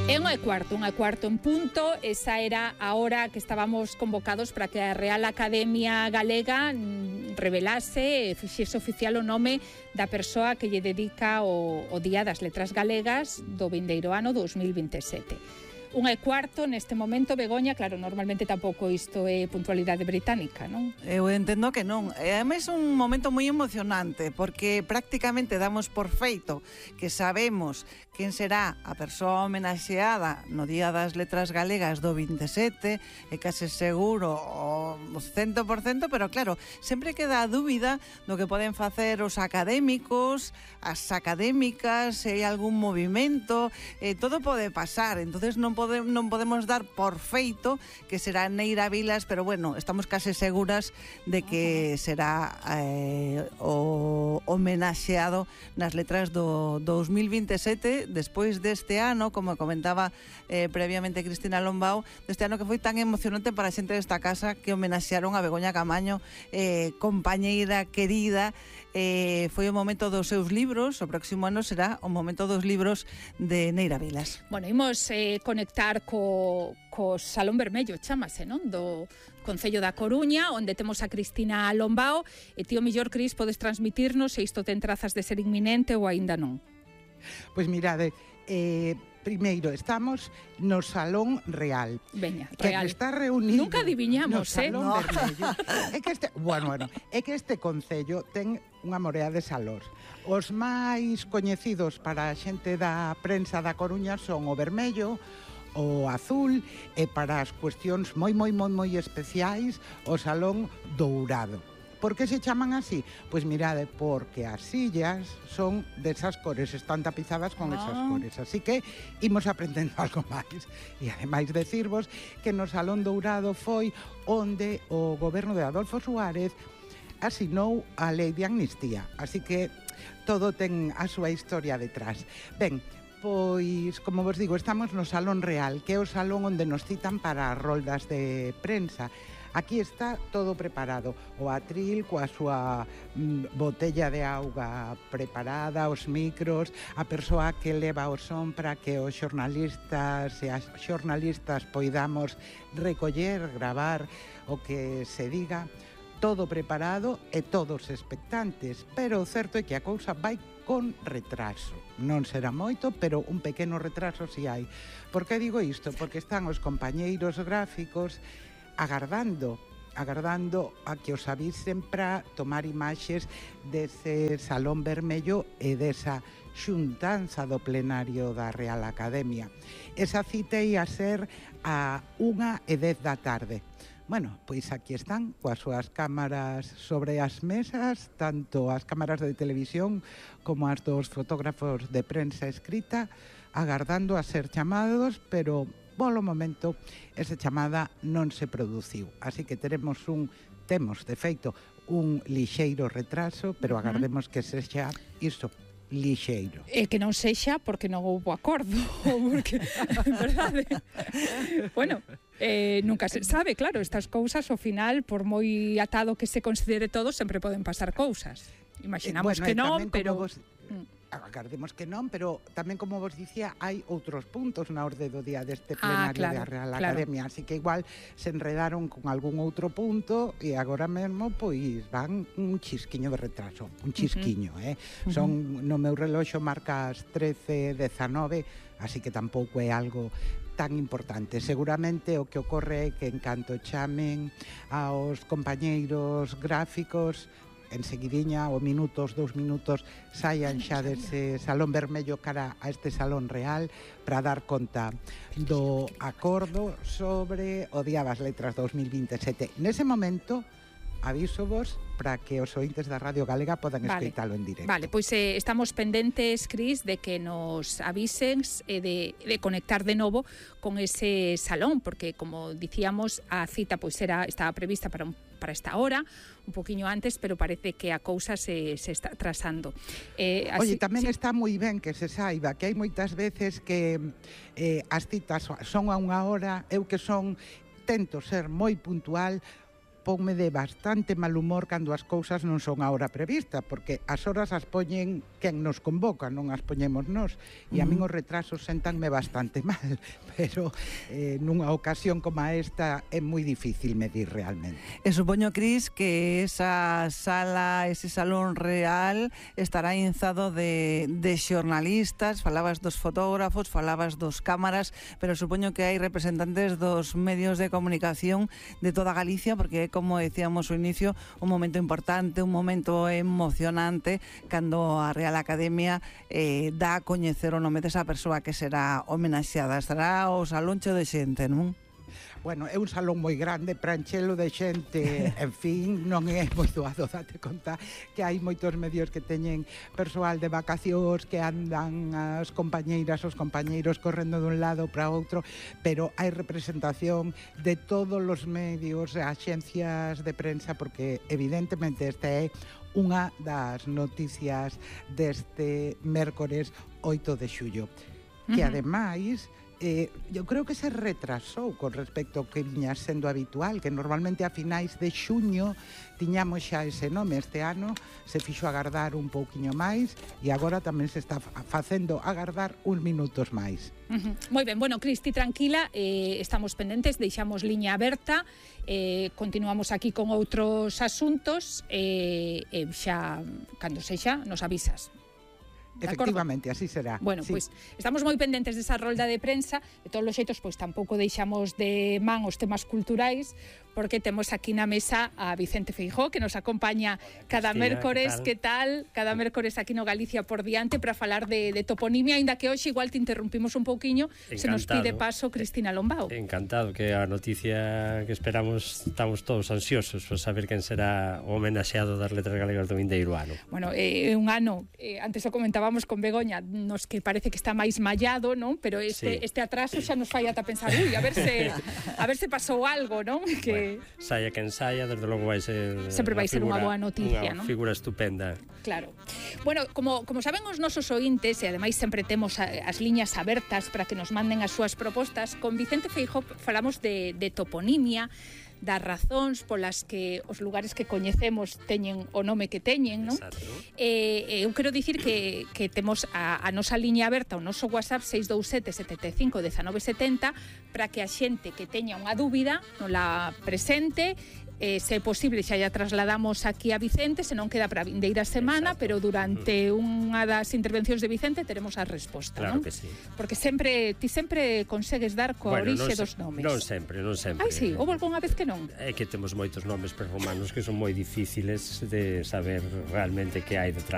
É unha cuarto en punto. Esa era a hora que estábamos convocados para que a Real Academia Galega revelase e fixese oficial o nome da persoa que lle dedica o Día das Letras Galegas do vindeiro ano 2027. 1:15 neste momento, Begoña, claro, normalmente tampouco isto é puntualidade británica, non? Eu entendo que non. É ademais un momento moi emocionante, porque prácticamente damos por feito que sabemos quen será a persoa homenaxeada no Día das Letras Galegas do 27, é case seguro o 100%, pero claro, sempre queda a dúbida do que poden facer os académicos, as académicas, se hai algún movimento, todo pode pasar, entonces non podemos dar por feito que será Neira Vilas, pero bueno, estamos case seguras de que será o homenaxeado nas letras do 2027, despois deste ano, como comentaba previamente Cristina Lombao, deste ano que foi tan emocionante para a xente desta casa que homenaxearon a Begoña Camaño, compañeira querida. Foi o momento dos seus libros, o próximo ano será o momento dos libros de Neira Vilas. Bueno, imos conectar co Salón Vermello, chámase, non? Do Concello da Coruña, onde temos a Cristina Lombao. E ti, o mellor, Cris, podes transmitirnos se isto ten trazas de ser inminente ou aínda non. Pois mirade, primeiro estamos no Salón Real. Veña, que Real. Está reunido Nunca adiviñamos, no Salón Vermello. É que este concello ten unha morea de salóns. Os máis coñecidos para a xente da prensa da Coruña son o vermello, o azul, e para as cuestións moi especiais, o Salón Dourado. Por que se chaman así? Pois mirade, porque as sillas son desas cores, están tapizadas con esas cores, así que imos aprendendo algo máis. E ademais decirvos que no Salón Dourado foi onde o goberno de Adolfo Suárez asinou a lei de amnistía, así que todo ten a súa historia detrás. Ben, pois, como vos digo, estamos no Salón Real, que é o salón onde nos citan para as roldas de prensa. Aquí está todo preparado, o atril coa súa botella de auga preparada, os micros, a persoa que leva o son para que os xornalistas e as xornalistas poidamos recoller, gravar o que se diga, todo preparado e todos expectantes, pero o certo é que a cousa vai con retraso. Non será moito, pero un pequeno retraso si hai. Por que digo isto? Porque están os compañeiros gráficos agardando a que os avisen para tomar imaxes dese Salón Vermello e desa xuntanza do plenario da Real Academia. Esa cita ia ser a 1:10 da tarde. Bueno, pois aquí están, coas súas cámaras sobre as mesas, tanto as cámaras de televisión como as dos fotógrafos de prensa escrita, agardando a ser chamados, pero polo momento esa chamada non se produciu. Así que temos de feito un lixeiro retraso, pero agardemos que sexa isto, lixeiro. E que non sexa porque non houbo acordo, porque, verdade? Bueno, nunca se sabe, claro, estas cousas ao final, por moi atado que se considere todo, sempre poden pasar cousas. Imaginamos que non, pero agardemos que non, pero tamén, como vos dicía, hai outros puntos na orde do día deste plenario da Real Academia, así que igual se enredaron con algún outro punto e agora mesmo pois van un chisquiño de retraso, un chisquiño, Son, no meu reloxo marca as 13:19, así que tampouco é algo tan importante. Seguramente o que ocorre é que en canto chamen aos compañeiros gráficos, enseguidiña, o minutos, 2 minutos, saian xa dese Salón Vermello cara a este Salón Real para dar conta do acordo sobre o Día das Letras 2027. Nese momento, avísovos para que os ointes da Radio Galega podan escoitalo en directo. Vale, pois estamos pendentes, Cris, de que nos avisen de conectar de novo con ese salón, porque, como dicíamos, a cita pois estaba prevista para esta hora, un poquinho antes, pero parece que a cousa se está atrasando. Oye, tamén está moi ben que se saiba que hai moitas veces que as citas son a unha hora, eu que tento ser moi puntual, ponme de bastante mal humor cando as cousas non son a hora prevista, porque as horas as poñen quen nos convoca, non as poñemos nós, e a min os retrasos sentanme bastante mal, pero nunha ocasión como esta é moi difícil medir realmente. E supoño, Cris, que esa sala, ese salón real estará inzado de xornalistas, falabas dos fotógrafos, falabas dos cámaras, pero supoño que hai representantes dos medios de comunicación de toda Galicia, porque como decíamos ao inicio, un momento importante, un momento emocionante cando a Real Academia dá a coñecer o nome desa persoa que será homenaxeada. Estará o salón cheo de xente, non? Bueno, é un salón moi grande, para enchelo de xente, en fin, non é moi doado, date conta que hai moitos medios que teñen persoal de vacacións, que andan as compañeiras, os compañeiros correndo dun lado para outro, pero hai representación de todos os medios, axencias de prensa, porque evidentemente esta é unha das noticias deste mércores 8 de xullo, que ademais eu creo que se retrasou con respecto ao que viña sendo habitual, que normalmente a finais de xuño tiñamos xa ese nome. Este ano se fixo agardar un pouquiño máis e agora tamén se está facendo agardar uns minutos máis. Moi ben, bueno, Cristi, tranquila, estamos pendentes, deixamos liña aberta, continuamos aquí con outros asuntos, xa, cando sexa, nos avisas. Efectivamente, así será. Bueno, sí. Pois estamos moi pendentes desa rolda de prensa. De todos os xeitos, pois tampouco deixamos de man os temas culturais, porque temos aquí na mesa a Vicente Feijóo, que nos acompaña cada mércores, que tal? Cada mércores aquí no Galicia por diante para falar de toponimia, aínda que hoxe igual te interrumpimos un pouquiño. Encantado. Se nos pide paso Cristina Lombao. Encantado, que a noticia que esperamos, estamos todos ansiosos por saber quen será o homenaxeado das letras galegas do vindeiro ano. Bueno, é un ano, antes o comentábamos con Begoña, nos que parece que está máis mallado, non? Pero este atraso xa nos fai ata pensar, a ver se pasou algo, non? Que bueno, saia quen saia, desde logo vai ser sempre vai ser unha boa noticia, non? Unha figura estupenda. Claro. Bueno, como saben os nosos ointes, e ademais sempre temos as liñas abertas para que nos manden as súas propostas, con Vicente Feijóo falamos de toponimia, das razóns polas que os lugares que coñecemos teñen o nome que teñen, non? Eu quero dicir que temos a nosa liña aberta, o noso WhatsApp 627 75 19 70, para que a xente que teña unha dúbida non la presente, se é posible xa trasladamos aquí a Vicente, se non queda para a vindeira semana. Exacto. Pero durante unha das intervencións de Vicente teremos a resposta, claro, non? Que sí. Porque ti sempre consegues dar coa orixe dos nomes. Non sempre. Ai, sí, houve algunha vez que non? É que temos moitos nomes prerromanos que son moi difíciles de saber realmente que hai detrás